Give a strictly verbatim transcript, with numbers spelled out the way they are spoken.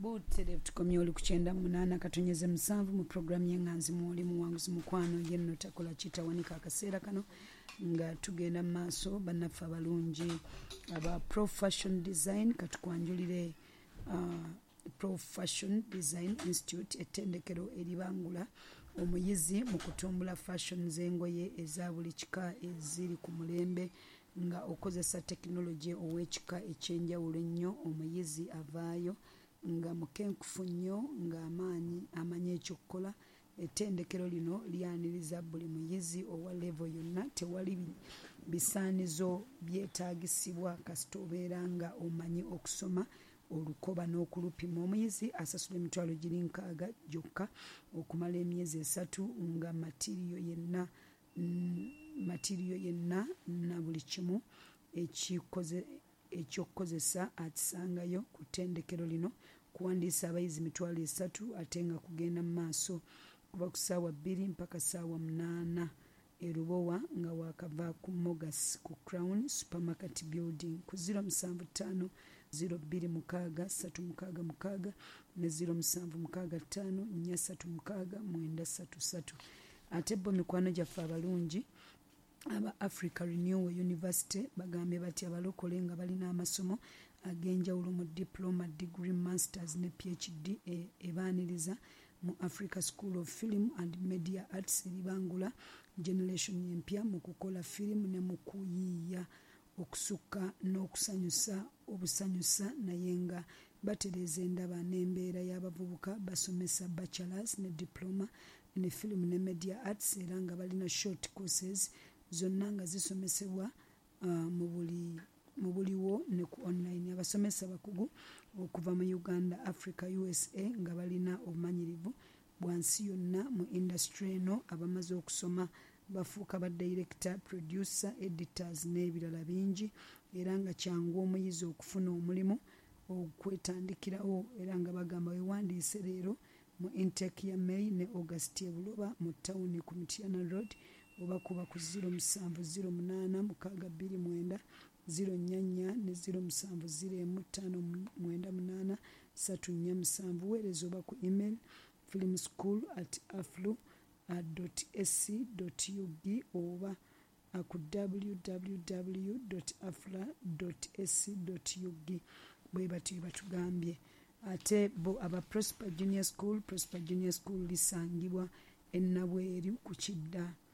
Butereevu tukomye oli ku kyenda munaana katonyeze musanvu mu puroguramu y'eŋŋanzi mwoli muwanguzi mukwano yenno takola kitawanika. Akaseera kano nga tugenda mu maaso, bannaffe abalungi aba Pro Fashion Design, katukwanjulire uh, Pro Fashion Design Institute, ettendekero eribangula omuyizi mu kutumbula fashion z'engoye eza buli kika eziri ku mulembe nga okozesa tekinologi ow'ekika ekyenjawulo ennyo. Omuyizi avaayo nga mukenkufu nnyo, ng'amaanyi amanyi ekyokukola. Ettendekero lino lyaniriza buli muyizi owa level yonna. Tewali bisaanizo byetaagisibwa kasita obeera nga omanyi okusoma olukoba n'okulupima. Omuyizi asasula emitwalo giri nkaaga gyokka okumala emyezi esatu, nga material yenna material yenna na buli kimu ekyokukozesa akisangayo ku ttendekero lino. Kuwandiisa abayizi mitwalo esatu, ate nga kugenda mu maaso kuva ku ssaawa bbiri mpaka ssaawa munaana e Lubowa, nga wakava ku Mogas ku Crown Supermarket Building, ku zero musanvu ttaano zero bbiri mukaaga ssatu mukaaga mukaaga ne zero musanvu mukaaga ttaano nnya ssatu mukaaga mwenda ssatu ssatu. Ate bo mikwano gyaffe abalungi aba Africa Renewal University bagambye bati abalokole nga balina amasomo ag'enjawulo mu diploma, degree, masters ne P H D ebaaniriza mu Africa School of Film and Media Arts, eribangula generation empya mu kukola firimu ne mu kuyiiya okusukka n'okusanyusa obusanyusa, naye nga batereeza endaba n'embeera y'abavubuka. Basomesa bachelors ne diploma ne film ne media arts, era nga balina short courses zonna nga zisomesebwa uh, mu buli mu buliwo ne ku online. Abasomesa bakugu okuva mu Uganda, Africa, U S A, nga balina obumanyirivu bwa nsi yonna mu industry eno. Abamaze okusoma bafuuka ba director, producer, editors n'ebirala bingi, era nga kyangu omuyizi okufuna omulimu okwetandikirawo. Era nga bagamba wewandiise leero mu intake ya May ne August e Buloba mu tawuni ku Mityana Road, oba kuba ku zero musanvu zero munaana mukaaga bbiri mwenda zero nnya nnya ne zero musanvu zero emu ttaano mwenda munaana ssatu nnya musanvu. Weereza oba ku email filmschool at aflu ac ug oba ku W W W afla ac ug. Bwe batyo batugambye. Ate bo aba Prosper Junior School, Prosper Junior School lisangibwa e Nabweru ku kidda.